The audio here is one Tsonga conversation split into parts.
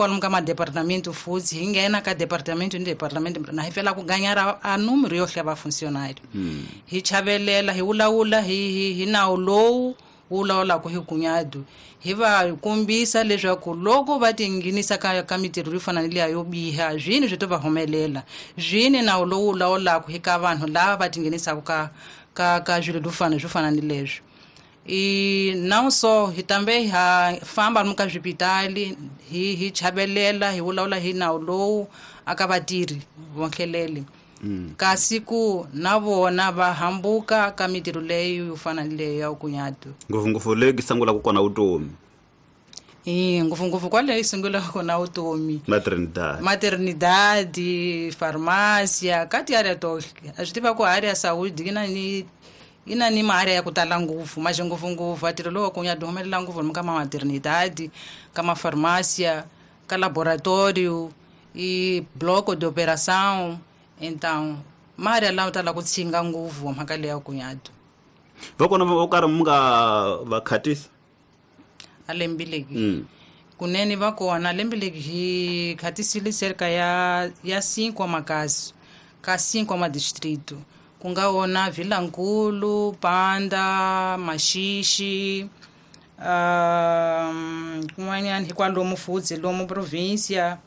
Kwalomu ka madepartamento futhi hi nghena ka departamento ni departamento na hi fela ku ganyara a número yo hlaya vafuncionário. Hi chavelela, hi vulavula hi nawu lowu wu lawulaka hi gunyadu, hi va kombisa leswaku loko va tinghenisa ka mitirho yo fana ni liya yo biha, swini swi to va humelela, swini nawu lowu wu lawulaka hi ka vanhu lava va tinghenisaka ka swilo swo fana ni leswi. I não só hi tambe ha famba lomu ka swipitali, hi chavelela, hi vulavula hi nawu lowu aka vatirhi vonhlelele. Kasi ku na vona va hambuka ka mitirho leyi yo fana ni leyi ya kunyatu. Ngopfungopfu leyi yi sungulaka kona vutomi. I ngopfungopfu kwale yi sungulaka kona vutomi. Maternidade. Maternidade, farmácia, ka tiárea tohle. A swi tiva ku área ya saúde yi na ni maárea ya ku tala ngopfu, mas ngopfungopfu ntirho lowu wa kunyatu humelela ngopfu lomu ka ma maternidade, ka ma farmácia, ka laboratório i bloco de operação. Então maárea lawa tala ku tshinga ngopfu mhaka leyi ya kunyatu. Va kona vo karhi mi nga va khatisa? A lembileki. Kunene va kona lembileki hi khatisile cerca ya 5 makazi ka 5 madistrito, ku nga wona Vilankulu, Panda, Maxixi, kun'wanyana hi kwalomu futhi lomu província.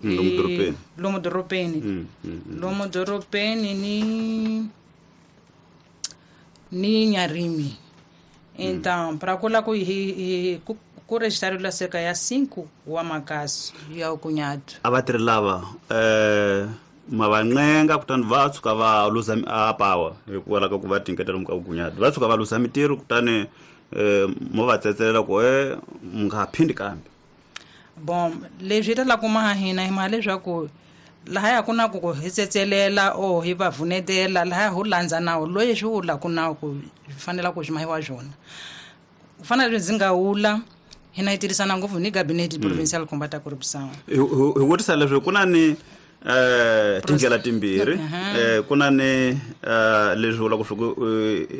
Lomu dorobeni. Lomu dorobeni. Lomu dorobeni ni Nyarimi. Então, para kula ku hi ku registrariwa cerca ya 5 wa makazi ya kunyatu. A vatirhi lava ma va ncenga kutani va tshuka va luza a power hikuva ka ku va tinyiketela lomu ka vugunyati, va tshuka va luza mitirho kutani mo va tsetselela ku mi nga ha phindi kambe. Bon, leswi hi talaka ku maha hina hi maha leswaku lahaya ku na ku hi tsetselela o hi va vunetela, lahaya ho landza nawu loyi swi vulaka nawu ku swi fanela ku swi mahiwa swona. Ku fana na leswi ndzi nga vula, hina hi tirhisana ngopfu ni gabinete provincial combat corruption. Hi vutisa leswi ku na ni tindlela timbirhi. Ku na ni leswi vulaka swa ku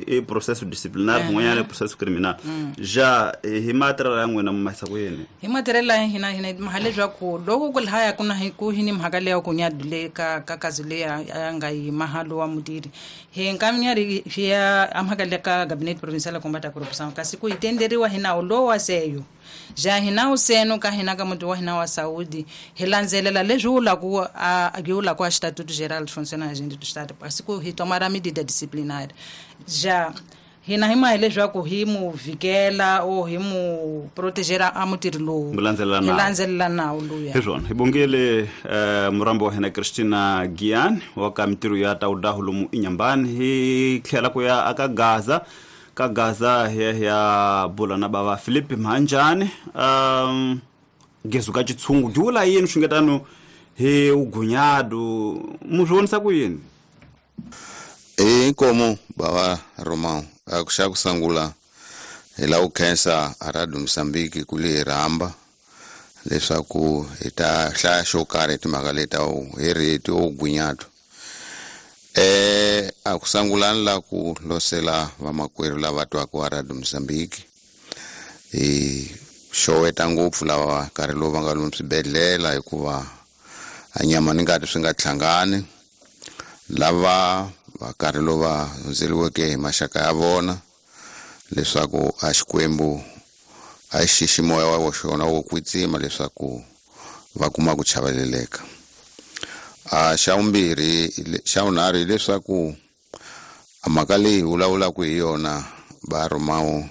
i processo disciplinar, kun'wanyana i processo criminal. Ja hi matirhelo ya n'wina mi mahisa ku yini? Hi matirhelo ya hina maha leswaku loko ku lahaya ku na ku hi ni mhaka leyi ya ku nyadu le ka kazi leyi ya nga yi mahalo wa mutirhi, hi nkaminyari hi ya a mhaka le ka gabinete provincial combat corruption, kasi ku hi tenderiwa hi nawu lowu wa seyo. Ja hi nawu seno ka hina ka muti wa hina wa saúde, hi landzelela leswi vulaku a hi vulaku a Estatuto Geral de Funcionamento do Estado, kasi ku hi tomara medida disciplinar. Ja hina hi mahi leswaku hi mu vikela o hi mu protegera a mutirhi lowu. Mu landzelela Hi nawu. landzelela nawu luya. Hi swona. Hi bongile murambo wa hina Christina Gian wa ka mitirho ya Taudahu lomu Inhambane. Hi tlhela ku ya aka Gaza. Ka Gaza hi ya bula na bava Philip Mhanjani. Gezu ka xitshungu byi vula yini swingetano hi ugunyadu, mu swi vonisa ku yini? Inkomu bava Romão, a ku xa ku sungula hi lava ku khensa a Radio Mozambique ku li hi rhamba leswaku hi ta hlaya xo karhi hi timhaka leti ta hi rito ugunyadu. A ku sungula ni la ku losela vamakwerhu lava twaka wa Radio Mozambique. Hi xoweta ngopfu lava nkarhi lowu va nga lomu swibedhlele hikuva a nyama ni ngati swi nga tlhangani, lava va nkarhi lowu va hundzeriweke hi maxaka ya vona, leswaku a Xikwembu a xi xixi moya wa xona wo kwetsima leswaku va kuma ku chaveleleka. A xa vumbirhi, xa vunharhu hileswaku a mhaka leyi hi vulavulaka hi yona va Romão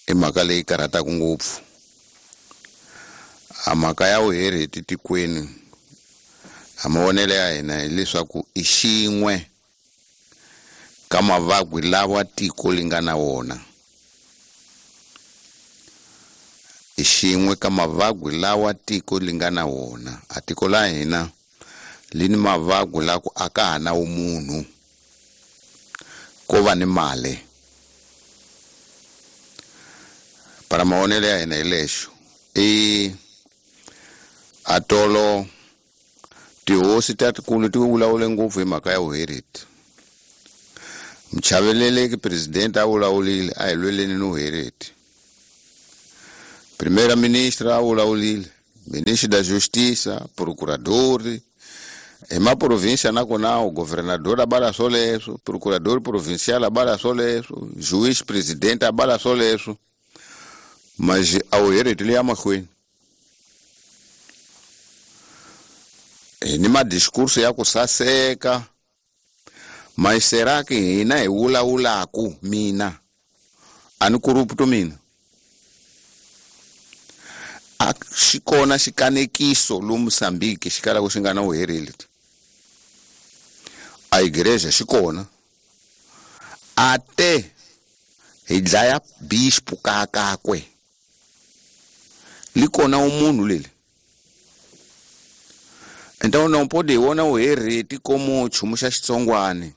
i mhaka leyi karhataka ngopfu. A mhaka ya vuhereti tikweni, a mavonelo ya hina hileswaku i xin'we ka mavabyi lawa tiko li nga na wona. I xin'we ka mavabyi lawa tiko li nga na wona. A tiko la hina li ni mavabyi la ku a ka ha na vumunhu, ko va ni mali. Para mavonelo ya hina hi lexo, i atolo tihosi ta tikulu ti vulavule ngopfu hi mhaka ya vuhereti. Muchaveleleki president a vulavulile a hi lweleni ni vuhereti. Primeira ministra a vulavulile Ministro da Justiça, procurador, hi maprovinsia nakona o governador abala swoleswo, procurador provincial abala swoleswo, juiz presidente abala swoleswo, mas a wu hereti liya mahlweni. Hi ni madiskurso ya ku saseka, mas será que hina hi vulavulaku mina a ni corrupto mina? A xi kona xikanekiso lomu Mozambique xi kalaka xi nga na vuhereli. A igreja xi kona, ate hi dlaya bispo kakakwe li kona umunhu leli. Então não pode vona uhereti como nchumu xa xitsongwane.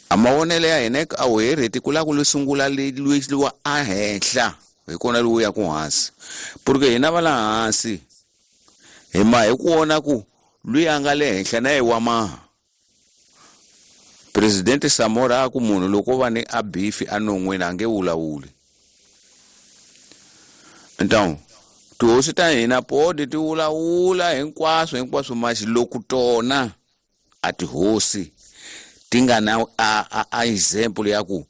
A mavonelo ya hina a uhereti ku lava ku sungula lwiwa a henhla hi kona lowu ya ku hansi, porque hina va la hansi hi ma hi ku vona ku lwiyi a nga le henhla na ye wa maha. Presidente Samora a ku munhu loko va ni a bifi a non'wini a nge vulavuli. Então tihosi ta hina podi ti vulavula hinkwaswo hinkwaswo, mas loko tona a tihosi ti nga na a example ya ku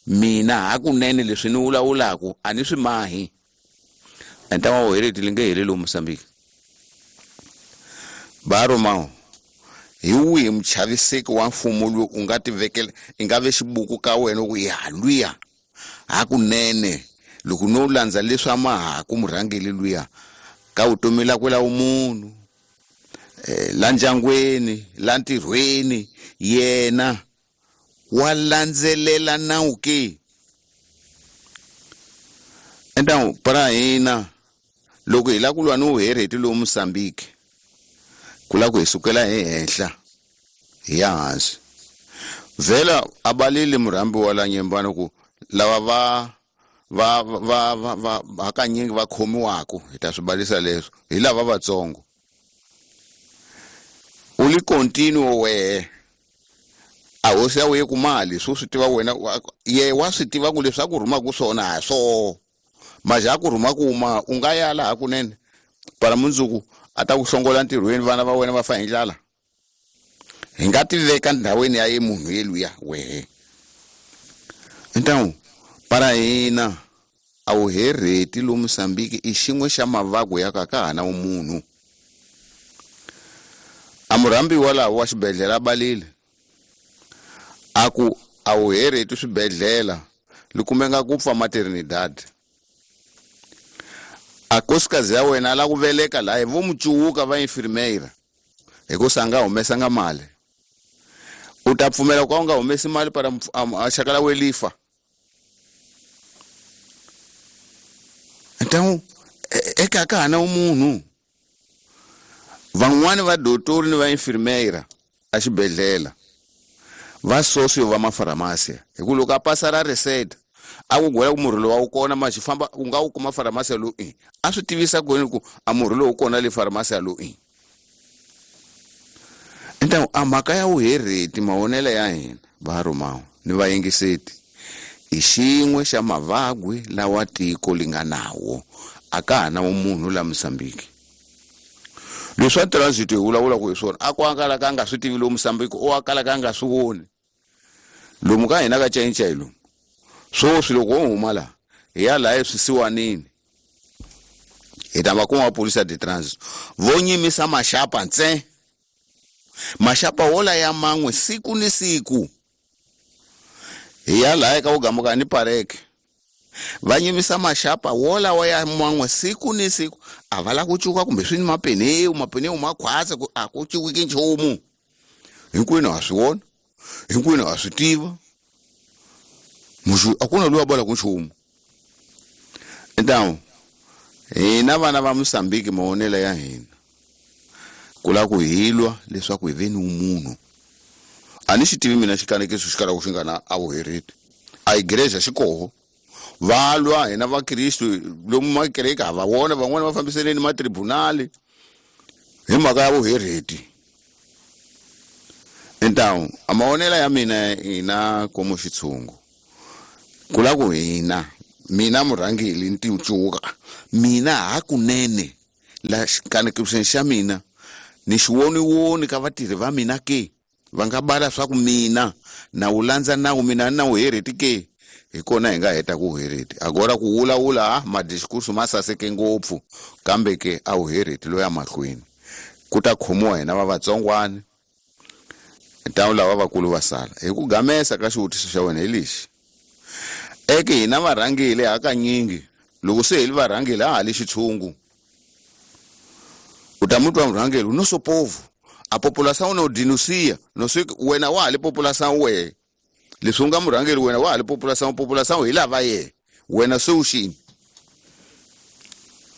mina hakunene leswi ni vulavulaku a ni swi mahi, então a vuhereti li nge heli lomu Mozambique. Baromao hi wihi muchaviseki wa mfumo lowu u nga tivekela i nga ve xibuku ka wena ku ya lwiya hakunene loko no landza leswi a mahaku murhangeli luya ka vutomi lakwe la vumunhu, la ndyangwini, la ntirhweni, yena wa landzelela nawu ke? Então para hina loko hi lava ku lwa ni vuhereti lowu Mozambique, ku lava ku hi sukela hi henhla hi ya hansi. Vhela a balile murhambi wa la Nyembani ku lava va va va va va hakanyingi va khomiwaka hi ta swi balisa leswo hi lava vatsongo. U li continuo wehe a hosi ya wehe ku mali swo swi tiva wena ye wa swi tiva ku leswi a ku rhumaku swona ha swoho, maja a ku rhuma ku ma u nga ya laha kunene para mundzuku a ta ku hlongola ntirhweni, vana va wena va fa hi ndlala. Hi nga tiveka ndhawini ya ye munhu yeluya wehe. Então para hina a vuhereti lomu Mozambique i xin'we xa mavabyi ya ka ka ha na vumunhu. A murhambiwa laha wa xibedhlele a balile a ku a vuhereti swibedhlele li kumeka ku pfa maternidad. A nkosikazi ya wena a lava ku veleka laha hi vo mucuwuka va infirmeira hikusa a nga humesanga mali. U ta pfumela ku ka u nga humesi mali para a xaka la welifa? Então eka ka ha na munhu. Van'wani va dotori ni va infirmeira a xibedhlele va socio va mafaramasia, hi ku loko a pasa ra reset a ku gwela ku murhi lowu a wu kona ma xi famba u nga wu kuma faramasia lowu i a swi tivisa ku yini ku a murhi lowu kona le faramasia lowu i. Então a mhaka ya vuhereti mavonelo ya hina va Romawo ni vayingiseti i xin'we xa mavabyi lawa tiko li nga nawo, a ka ha na munhu la Mozambique. Leswi swa transit hi vulavulaka hi swona a ku a kalaka a nga swi tivi lomu Mozambique, o a kalaka a nga swi voni lomu ka hina ka Chainchain lomu. Swoswi loko wo huma laha hi ya laha eswisiwanini hi ta va kuma maphorisa de transit vo nyimisa maxapa ntsena, maxapa wola ya man'we siku ni siku. Hi ya laha eka vugamuka ni pareke va nyimisa maxapa wolawa ya man'we siku ni siku, a va lava ku cuka kumbe swi ni mapeneu, mapeneu ma khwatsa ku a ku cuwiki nchumu. Hinkwenu ha swi vona, hinkwenu ha swi tiva, muxu a ku na loyi a bolaka nchumu. Então hina vana va Mozambique mavonelo ya hina ku lava ku hi lwa leswaku hi ve ni vumunhu. A ni xi tivi mina xikanekiso xi kalaka xi nga na a vuhereti, a igreja xi koho va lwa hina vakristu lomu makereke ha va vona van'wani va fambiseleni matribunali hi mhaka ya vuhereti. Então a mavonelo ya mina hina komo xitshungu ku lava ku hina mina murhangeli ni ticuka mina hakunene La xikanekiseni xa mina ni xiwoniwoni ka vatirhi va mina ke va nga bala swa ku mina na wu landza nawu mina na wu hereti ke hi kona hi nga heta ku hereti agora ku wulawula madiskursu ma saseke ngopfu kambe ke a wu hereti loya mahlweni ku ta khomiwa hina va vatsongwana ntawu lava vakulu va sala hi ku gamesa ka xivutiso xa wena hi lexi eke hina varhangeli hakanyingi loko se hi li varhangeli a ha li xitshungu u ta mutwa murhangeli no so povo a população no denuncia no sei wena wa ha li população wehe leswi u nga murhangeri wena wa ha li população população hi lava yehe wena se u xini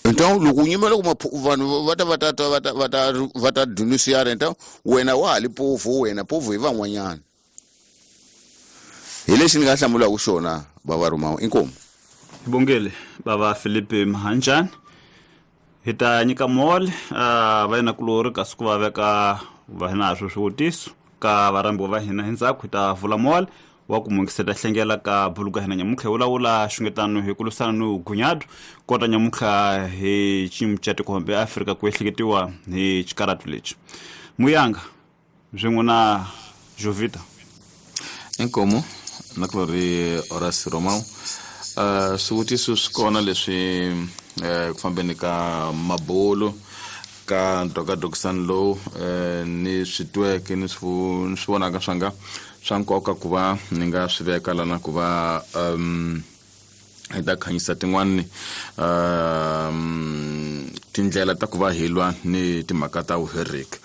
então loko u nyimela ku vanhu va ta va ta va ta va ta va ta denunciar então wena wa ha li povo wena povo hi van'wanyana hi lexi ni nga hlamulaka xona bava Rumawu inkomu hi bongele bava Felipe Mahanjani hi ta nyika mole va yena kulori kasi ku va veka va hina swo swivutiso ka varhambiwa va hina hi ndzhaku hi ta vula mole wa ku mungiseta hlengela ka buluka hina nyamuntlha hi vulavula xungetano hi ku lwisana ni vugunyadu kota nyamuntlha hi xiyimo xa tiko Afrika ku ehleketiwa hi xikaratu lexi muyanga swin'we na Jovita inkomu na kulori Horace Romao swivutiso swi kona leswi ku fambeni ka mabulu ka ndokadokisani lowu ni swi tweke ni swi vonaka swa nga swa nkoka ku va ni nga swi veka lana ku va hi ta khanyisa tin'wani tindlela ta ku va hi lwa ni timhaka ta vuheriki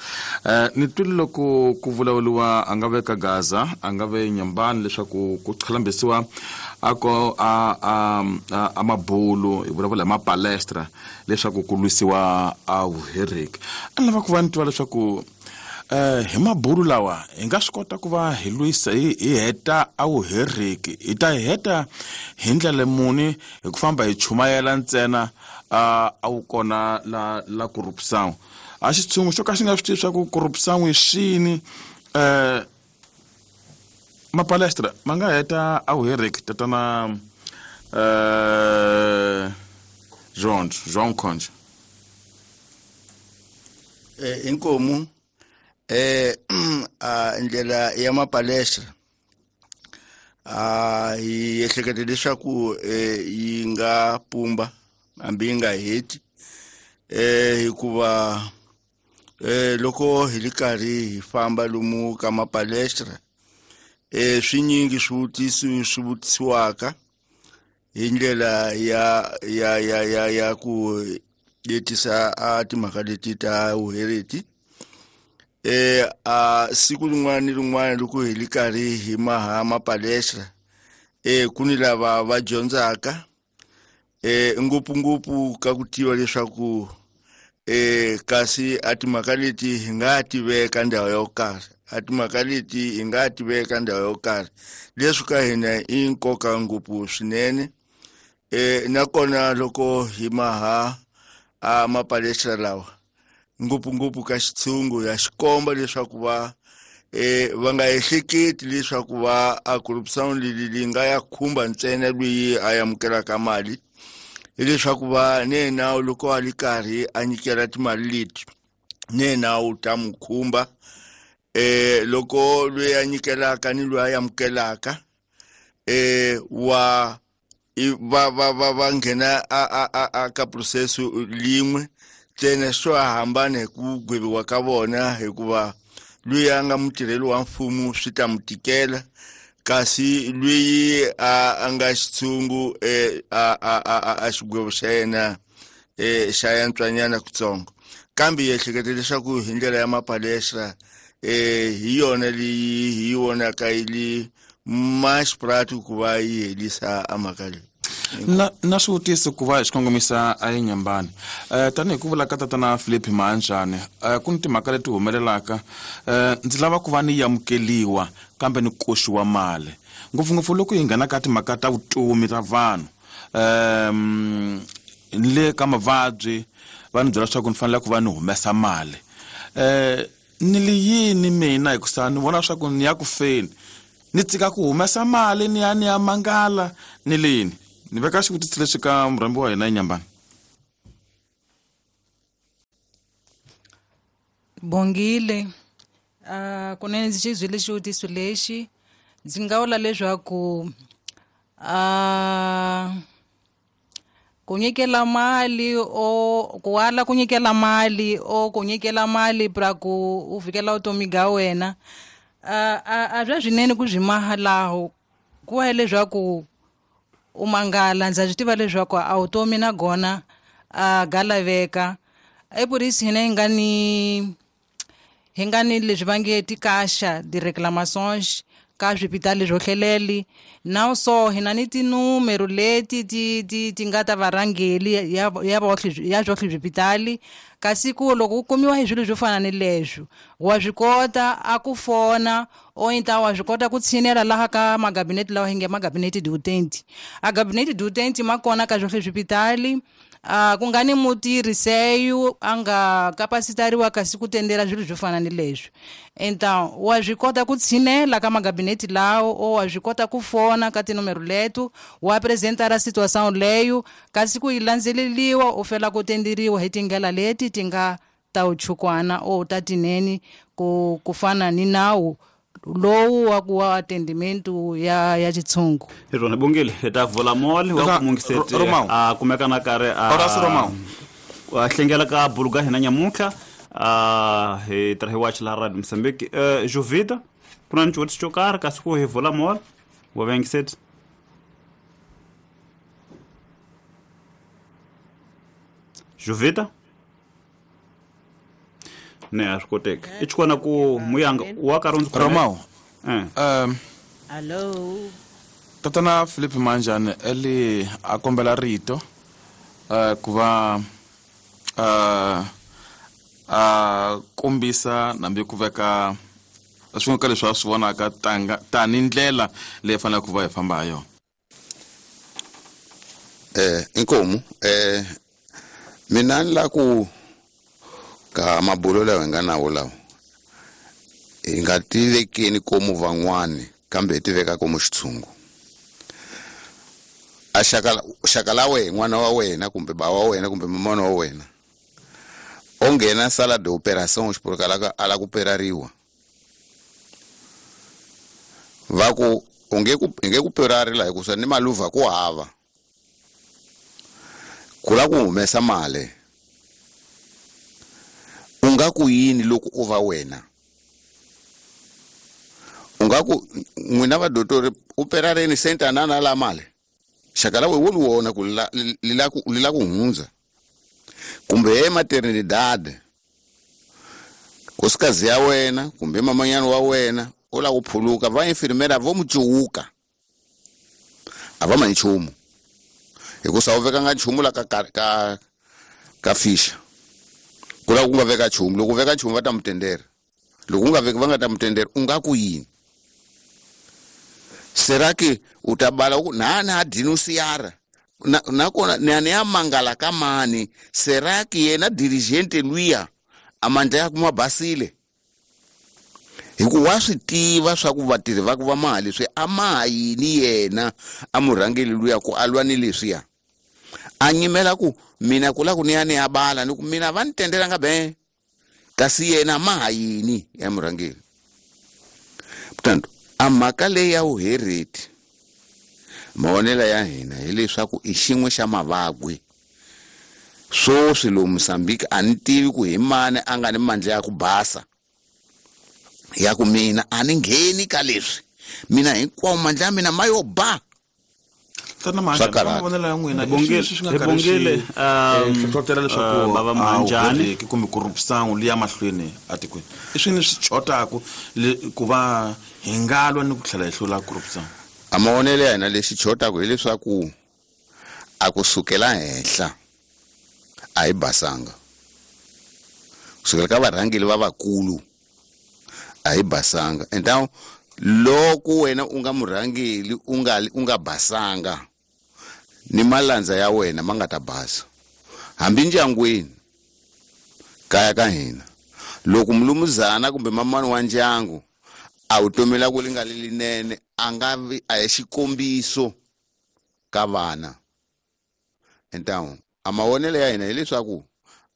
ni twile loko ku vulavuriwa a nga ve ka Gaza a nga ve Nyambani leswaku ku qhalambisiwa a ko a mabulu hi vulavula hi mapalestra leswaku ku lwisiwa a vuheriki a ni lava ku va ni tiva leswaku hi mabulu lawa hi nga swi kota ku va hi lwisa hi heta a vuheriki hi ta heta hi ndlela muni hi ku famba hi chumayela ntsena a wu kona la corruption a xitshungu xo ka xi nga swi tivi swa ku corruption i swini mapalestra ma nga heta a vuheriki tatana João Conde inkomu ndlela ya mapalestra hi ehleketa leswaku yi nga pumba hambi yi nga heti hikuva loko hi li karhi hi famba lomu ka mapalestra swinyingi swivutiso swi vutisiwaka hi ndlela ya ya ya ya ya ku letisa a timhaka leti ta vuhereti a siku rin'wana ni rin'wana loko hi li karhi hi maha mapalestra ku ni lava va dyondzaka ngopfungopfu ka ku tiva leswaku kasi a timhaka leti hi nga ti veka ndhawu yo karhi a timhaka leti hi nga ti veka ndhawu yo karhi leswi ka hina i nkoka ngopfu swinene nakona loko hi maha a mapalestra lawa ngopfungopfu ka xitshungu ya xikomba leswaku va va nga ehleketi leswaku va a corruption leyi nga ya khumba ntsena loyi a amukelaka mali hileswaku va ne nawu loko a li karhi a nyikela timali leti ne nawu ta mu khumba loko loyi a nyikelaka ni loyi a amukelaka wa va va va va nghena a ka process lin'we ntsena swo hambana hi ku gweviwa ka vona hikuva loyi a nga mutirheli wa mfumo swi ta mu tikela kasi loyi a nga xitshungu a xigwevo xa yena xa yantswanyana kutsongo kambe hi ehleketa leswaku hi ndlela ya mapalestra hi yona leyi hi yi vonaka yi li mais prático ku va yi helisa a mhaka leyi na swivutiso ku va hi xi kongomisa a eNyambani tanihi ku vula ka tatana Philip Mahanjani ku ni timhaka leti humelelaka ndzi lava ku va ni amukeliwa kambe ni koxiwa mali ngopfungopfu loko hi nghena ka timhaka ta vutomi ta vanhu ni le ka mavabyi va ni byela leswaku ni fanele ku va ni humesa mali ni li yini mina hikusa ni vona leswaku ni ya ku feni ni tshika ku humesa mali ni ya ni ya mangala ni lini ni veka xivutiso lexi ka murhambi wa hina eNyambani. Bongile kunene ndzi xi byile xivutiso lexi ndzi nga vula leswaku ku nyikela mali o ku ala ku nyikela mali o ku nyikela mali pra ku u fikela vutomi bya wena a bya swinene ku byi maha laho ku wa leswaku u mangala ndza swi tiva leswaku a vutomi na gona a ga laveka epurisi hina hi nga ni leswi va nge tikasha di-reclamations ka swipitali swo hleleli na so hina ni tinumero leti ti nga ta varhangeli ya swohle swipitali kasi ku loko u kumiwa hi swilo swo fana ni leswo wa swi kota a ku fona o inta wa swi kota ku tshinela laha ka magabinete lawa hi nge magabinete diutenti a gabinete diutenti ma kona ka swohle swipitali ku nga ni mutirhi seyu a nga kapasitariwa kasi ku tendela swilo swo fana ni leswi então wa swi kota ku tshinela ka magabinete lawo o wa swi kota ku fona ka tinomero leto wa apresentara situação leyo kasi ku yi landzeleliwa u fela ku tenderiwa hi tindlela leti ti nga ta uchukwana o ta tinene ku fana ni nawu lowu wa ku wa atendimento ya xitshungu. Hi rona Bongile hi ta vula mall wa ku mungiseti a kumeka na karhi a hlengela ka buluga hina nyamuntlha hi tirha hi wachi laha Radio Mozambique. Jovita ku na ni xivutiso xo karhi kasi ku hi vula mall wa vengiseti? Jovita ne a swi koteki i xikona ku muyanga wa karhi ndzi Romao. Hello Tatana Philip Manjani eli a kombela rito ku va a kombisa nambi ku veka swin'we ka leswi a swi vonaka tani ndlela leyi faneleke ku va hi famba ha yona. Inkomu mina ni la ku ka mabulo lawa hi nga nawo lawa hi nga tivekeni komu van'wani kambe hi tiveka komu xitshungu. A xaka la wena n'wana wa wena kumbe ba wa wena kumbe mamana wa wena o nghena sala de opération xipuluka a la ku perariwa va ku u nge ku perari la hikusa ni maluva ku hava ku la ku humesa mali. U nga ku yini loko u va wena? U nga ku n'wina vadotori u perareni sentanana la mali xaka la we wo li wona ku li la ku hundza kumbe ematernidade nkosikazi ya wena kumbe mamanyana wa wena u la ku phuluka va infirmera vo mu cuwuka a va ma nchumu hikusa u vekanga nchumu la ka fisha ku la ku nga veka nchumu. Loko u veka nchumu va ta mu tendera, loko u nga veki va nga ta mu tendera. U nga ku yini? Será que u ta bala ku na denunciara nakona ni ya mangala ka mani? Será que yena dirigente luya a mandla ya kuma basile hi ku wa swi tiva swa ku vatirhi va ku va mali swi a ma yini yena a murhangeli luya ku a lwa ni leswiya a nyimela ku mina ku la ku ni ya bala ni ku mina va ni tendelanga be kasi yena ma ha yini ya murhangeli. Portanto a mhaka leyi ya vuhereti mavonelo ya hina hileswaku i xin'we xa mavabyi swoswi lomu Mozambique a ni tivi ku hi mani a nga ni mandla ya ku basa ya ku mina a ni ngheni ka leswi mina hinkwawo mandla ya mina ma yo ba. Tana mavonelo ya n'wina Bongile hlohlotela leswaku bava Manjani kumbe corruption liya mahlweni atikweni i swini swi chotaku ku va hi nga lwa ni ku tlhela hi hlula corruption? A mavonelo ya hina lexi chotaku hileswaku a ku sukela henhla a hi basanga, kusukela ka varhangeli va vakulu a hi basanga. Então loko wena u nga murhangeli u nga basanga ni malandza ya wena ma nga ta basa. Hambi ndyangwini kaya ka hina loko mulumuzana kumbe mamani wa ndyangu a vutomi la ku li nga li linene a nga vi a hi xikombiso ka vana. Então a mavonelo ya hina hileswaku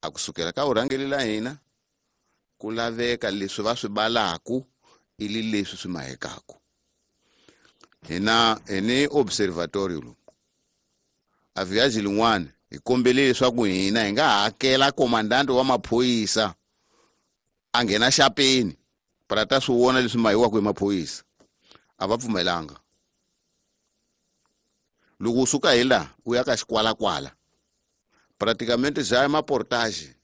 a kusukela ka vurhangeli la hina Ku laveka leswi va swi balaku ili leswi swi mahekaku. Hina hi ni observatory lomu. A viaji lin'wana hi kombele leswaku hina hi nga hakela komandante wa maphorisa a nghena xapeni para ta swi vona leswi mahiwaka hi maphorisa. A va pfumelanga. Loko u suka hi laha u ya ka xikwalakwala praticamente bya maportage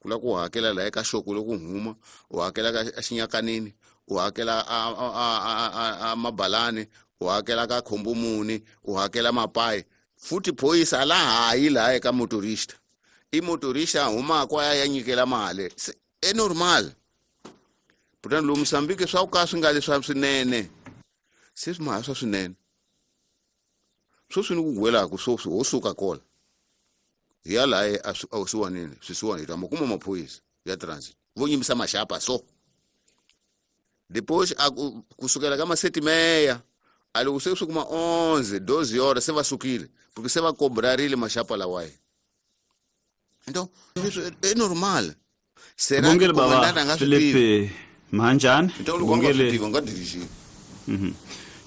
ku la ku hakela laha eka xoko loko huma u hakela ka xinyakanini u hakela a mabalani u hakela ka khombomuni u hakela mapayi futhi phorisa la hayi laha eka motorista i motorista a humaka a ya nyikela mali e normal. Kutani lomu Mozambique swa ku ka swi nga leswa swinene se swi maha swa swinene sweswi ni ku gwelaku sweswi ho suka kola hi ya laha awusiwanini swisiwani hi ta ma kuma maphorisa ya transit vo nyimbisa maxapa so depois a kusukela ka masetimeya a loko se swi kuma 11 12 horas se va sukile porque se va kobrarile maxapa lawaye. Então é normal. Será que baba Felipe Mhanjani? Então loko nga swi tivi nga dirigir.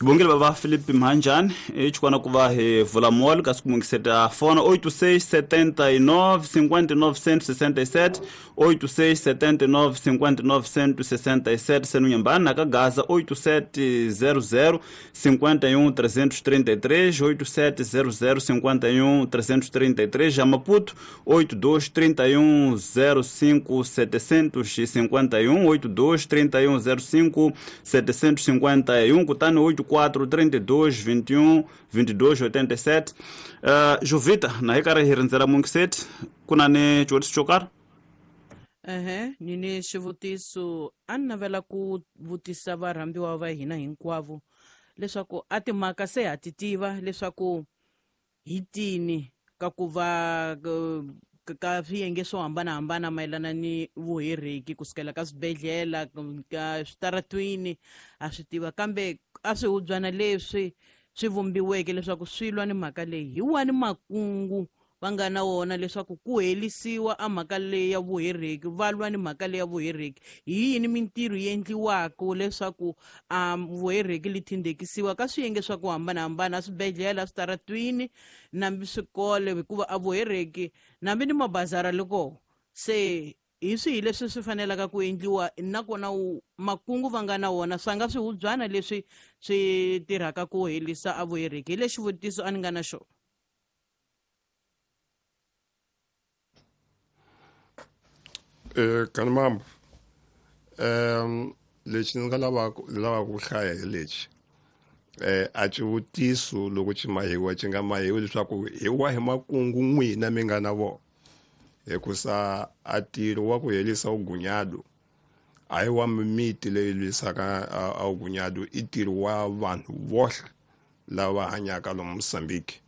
Bongile baba Felipe Mhanjani e chikwana ku va hi vula mall kasi ku mungiseta fona 86 79 59 167 86 79 59 167 senu Nyambani na ka Gaza 8700 51 333 8700 51 333 já Maputo 82 31 05 751 82 31 05 751 kutani 84 32 21 22 87. Jovita na hi karhi hi rindzela mungiseti ku na ni xivutiso xo karhi? Ni ni xivutiso a ni navela ku vutisa varhambiwa va hina hinkwavo leswaku a timhaka se ha ti tiva leswaku hi tini ka ku va ka swiyenge swo hambanahambana mayelana ni vuhereki kusukela ka swibedhlele ka switaratwini a swi tiva kambe a swihubyana leswi swi vumbiweke leswaku swi lwa ni mhaka leyi hi wani makungu va nga na wona leswaku ku helisiwa a mhaka leyi ya vuhereki va lwa ni mhaka leyi ya vuhereki hi yini mintirho yi endliwaka leswaku vuhereki li thindekisiwa ka swiyenge swa ku hambanahambana a swibedhlele a switaratwini nambi swikolo hikuva a vuhereki nambi ni mabazara loko se hi swihi leswi swi fanelaka ku endliwa nakona makungu va nga na wona swa nga swihubyana leswi swi tirhaka ku helisa a vuhereki hi lexi xivutiso a ni nga na xona. Kanimambo lexi ni nga lavaka ku hlaya hi lexi a xivutiso loko xi mahiwa xi nga mahiwi leswaku hi wahi makungu n'wina mi nga na vona hikusa a ntirho wa ku herisa vugunyado a hi wa mimiti leyi lwisaka a vugunyado i ntirho wa vanhu vohle lava hanyaka lomu Mozambique.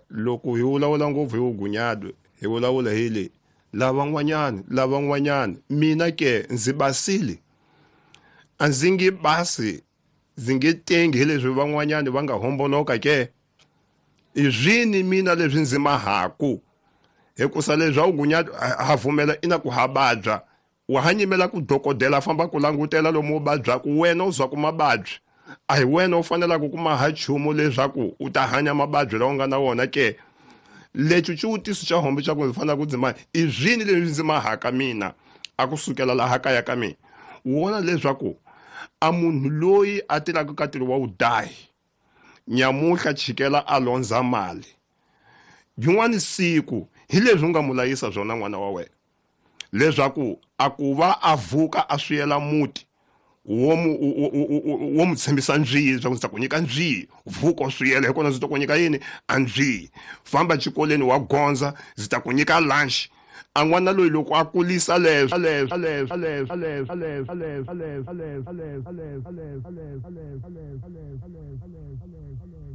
Loko hi vulavula ngopfu hi vugunyado hi vulavula hi le lavan'wanyani mina ke ndzi basile a ndzi nge basi ndzi nge tengi hi leswi van'wanyani va nga homboloka ke i swini mina leswi ndzi mahaku hikusa leswi vugunyado ha pfumela ina ku ha vabya wa ha nyimela ku dokodela famba ku langutela lomu u vabyaku wena u zwa ku mavabyi a hi wena u fanelaka ku maha nchumu leswaku u ta hanya mavabyi lawa u nga na wona ke. Lexi xivutiso xa hombe xa ku ndzi fanele ku ndzi i swini leswi ndzi mahaka mina a ku sukela laha kaya ka mina wona leswaku a munhu loyi a tirhaka ka ntirho wa vudahi nyamuhla chikela a londza mali yin'wani siku hi leswi u nga mu layisa swona n'wana wa wena leswaku a ku va a vuka a swiyela muti wo mu tshembisa ndziyi leswaku ndzi ta ku nyika ndziyi vuka u swiyela hi kona ndzi ta ku nyika yini a ndziyi famba xikolweni wa gondza ndzi ta ku nyika lunch a n'wana loyi loko a kulisa leswo leswo leswo leswo leswo leswo leswo leswo leswo leswo leswo leswo leswo leswo.